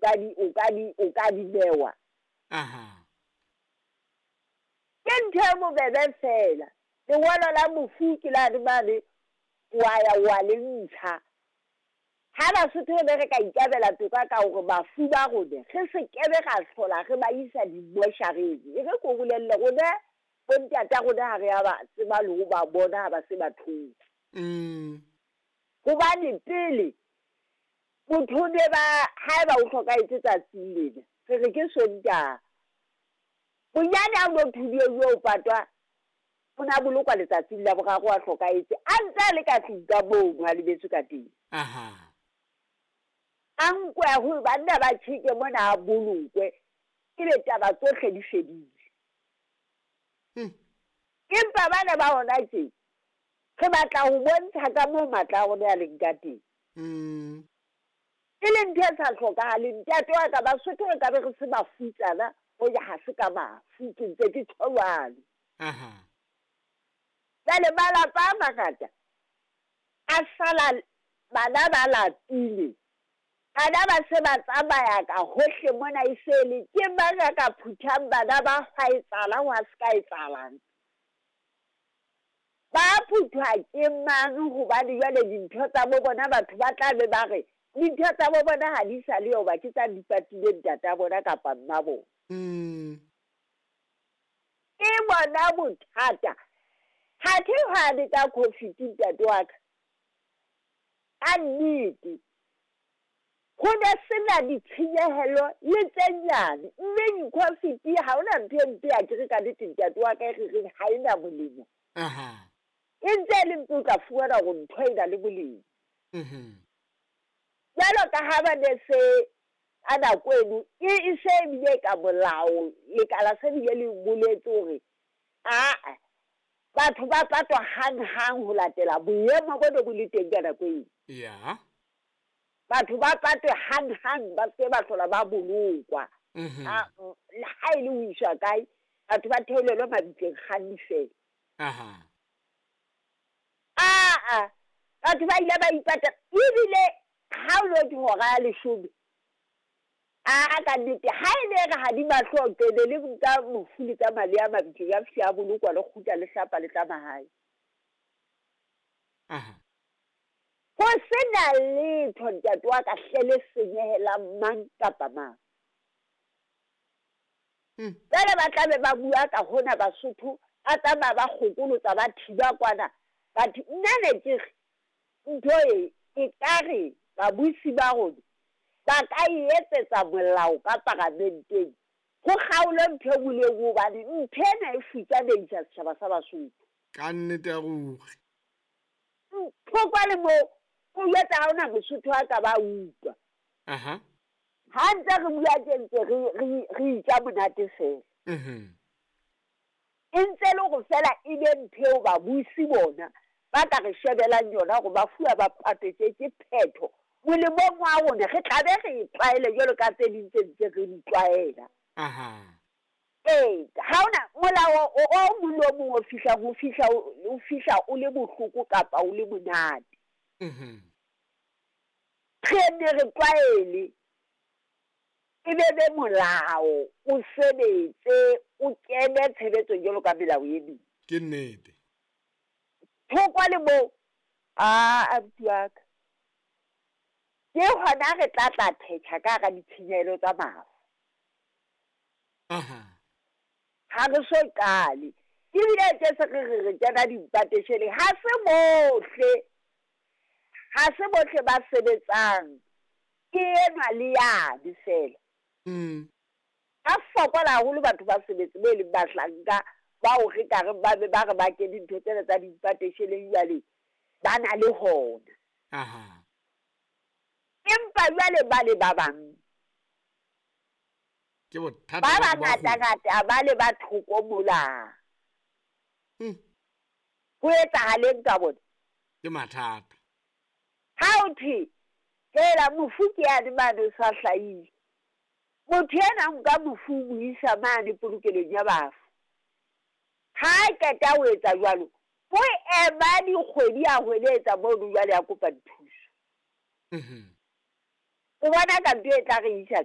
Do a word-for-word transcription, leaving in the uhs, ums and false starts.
ka di o ka di o ka di bewa. Aha. Ke ntho e bobebe fela. Lengolo la mofu ke la mane wa ya wa le ntsha. Ha Basotho be re ka ikabela toka ka hore bafu ba rona re se kebe ra hlola re ba isa dimoshareng. E re ko bolelle rona bontata rona ha re a ba tseba le ho ba bona ha ba se ba thotse. Mm. Hobane pele motho ne ba haeba o hlokahetse tsatsing lena re re ke Sontaha. Bonyane ha o thudiwe o patwa o na bolokwa letsatsing la boraro a hlokahetse a ntse a le ka tlung ka moo a lebetswe ka teng. Aha. A nkwe ho banna ba tjheke mona a bolokwe ebe taba tsohle di fedile. Mm. Empa bana ba hona tje re batla ho bontsha ka moo matla a rona a leng ka teng. Mm. E le ntho e sa hlokahaleng. Ntate wa ka Basotho re ka be re se bafutsana hoja ha se ka mafu ke ntse ke tjho jwalo. Aha. Jwale malapa a mangata a sala bana ba lapile. Bana ba se ba tsamaya ka hohle mona e se le ke mang a ka phuthang bana ba hwa etsahalang hwa se ka etsahalang. Ba phuthwa ke mang hobane jwale dintho tsa bo bona batho ba tla be ba re dintho tsa bo bona ha di sa le hoba ke tsa dipatile ntata bona kapa mma bona. Mm. Ke bona bothata. Ha ke hwane ka COVID ntate wa ka. Ka nnete. Ho ne sena ditshenyehelo le tse nyane. Mme COVID ha hona ntho e mpe ya ke re ka nnete ntate wa ka e re reng ha ena molemo. Aha. E ntse e le mpe o tla fumana hore ntho e na le molemo. Mhm. Jwalo ka ha ba ne se a nako eno e e se ebile ka molao lekala se bile le boletse hore aa batho ba patwa hang-hang ho latela boemo bo ne bo le teng ka nako eo. Ya. Batho ba patwe hang-hang ba se ba hlola ba bolokwa. Mhm. Ha ha e le ho iswa kae batho ba theolelwe mabitleng kganni fela. Aha. Aa batho ba ile ba ipata ebile ha o lo hora ya leshome. A ka nnete ha e ne re ha di mahlo qede le nka mofu le tsa mali a mabitleng a fihla a bolokwa le kgutla le hlapa le tla mahae. Aha. Ho sena letho ntate wa ka hle le senyehelang mang kapa mang. Mm. Jwale ba tla be ba bua ka hona Basotho a tsamaya ba kgokolotsa ba thiba kwana. Batho nna ne ke re ntho e e ka re babusi ba rona ba ka e etsetsa molao ka paramenteng ho kgaolwe ntho e nngwe le e nngwe hobane ntho ena e futsanehisa setjhaba sa Basotho. Ka nnete ya ruri. Thoko le moo o jwetsa ha hona Mosotho a ka ba utlwa. Aha. Ha ntse re bua tje ntse re re re itja monate fela. Mhm. E ntse le hore fela e be ntho eo babusi bona ba ka re shebelang yona hore ba fuwa ba patetse ke phetho. Molemong wa rona re tla be re e tlwaele jwalo ka tse ding tse ntse re di tlwaela. Aha. Ee, ha hona molao o o mong le o mong o fihlang o fihla o fihla o le bohloko kapa o le monate. Mhm. Re ne re tlwaele e be be molao o sebetse o kene tshebetsong jwalo ka melao e meng. Ke nnete. Thoko le moo a abuti wa ka. Ke hona re tla tla thetha ka hara ditshenyehelo tsa mafu. Aha. Ha re so qale. Ebile tje se re re re kena dipatesheleng ha se bohle. Ha se bohle ba sebetsang. Ke enwa le yane fela. Mm. Ba fokola haholo batho ba sebetse be leng bahlanka bao re ka re ba be ba re ba kene dintho tsena tsa dipatesheleng jwale ba na le hona. Aha. Empa jwale ba le ba bang. Ke bothata Ba ba bangata ho. ngata ba le ba thoko mola. Mm. Ho etsahaleng ka bona? Ke mathata. Ha o thwe hela mofu ke yane mane o sa hlahile. Motho ena nka mofu o mo isa mane polokelong ya bafu. Ha a qeta ho etsa jwalo, o ema dikgwedi a hweletsa mono jwale a kopa dithuso. Mhm. O bona ka ntho e tla re isa kae?